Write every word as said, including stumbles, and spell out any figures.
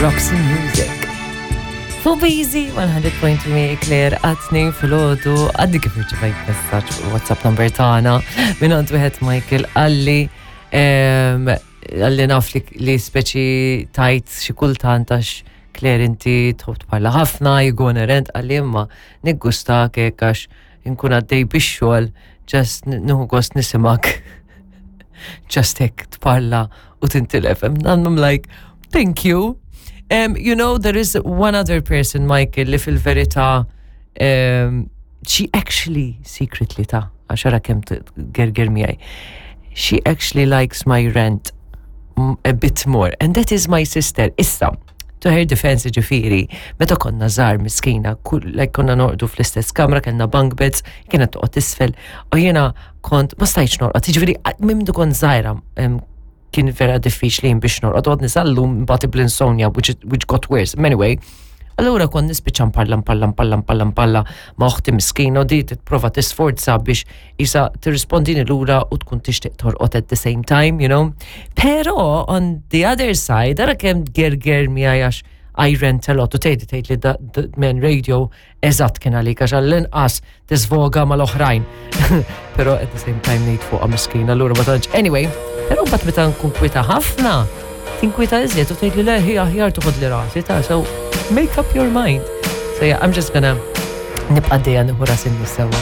Roxy Music. Fuq Easy one hundred point three Claire għat-tnejn filgħodu. Għadni kif irċevejt messaġġ fuq WhatsApp number tagħna minn għand wieħed Michael. Qalli em, qalli naf li, li speċi tajt xi kultant għax Claire inti tħobb tparla ħafna, you go on a rant, qalli imma niggusta hekk għax inkun għaddej bix-xogħol, just nieħu gost nismgħek just hekk tparla u tintilef. And I'm like, "Thank you." Um, you know, there is one other person, Michael, li fil-verità, um, she actually secretly ta' għax ara kemm gerger miegħi. She actually likes my rant m- a bit more, and that is my sister. Issa, to her defense ġifieri, meta konna żgħar miskina, kull, like konna norqdu fl-istess kamra, kellna bunk beds, kienet toqgħod isfel, u jiena kont ma stajtx norqod, ġifieri minn kont żgħira em, kien vera diffiċli biex norqod, għadni sal-lum mbagħad bl-insomnia, which, which got worse. Anyway, allura kont nispiċċa nparla nparla nparla nparla nparla ma' uħti miskina u di tipprova tisforza biex isa tirrispondini lura u tkun tixtieq torqod at the same time, you know. Pero on the other side, ara kemm gerger miegħi għax I rant a lot u tgħid tgħid li da- da- men radio eżatt kien għalik għax għall-inqas tisvoga mal-oħrajn. Pero at the same time ngħid fuqha miskina, allura ma tantx. Anyway, pero mbagħad meta nkun kwita ħafna, tinkwita iżjed u tgħid li le hi aħjar toħod li rasi ta' so make up your mind. So yeah, I'm just gonna nibqa' dejja nieħu rasi sewwa.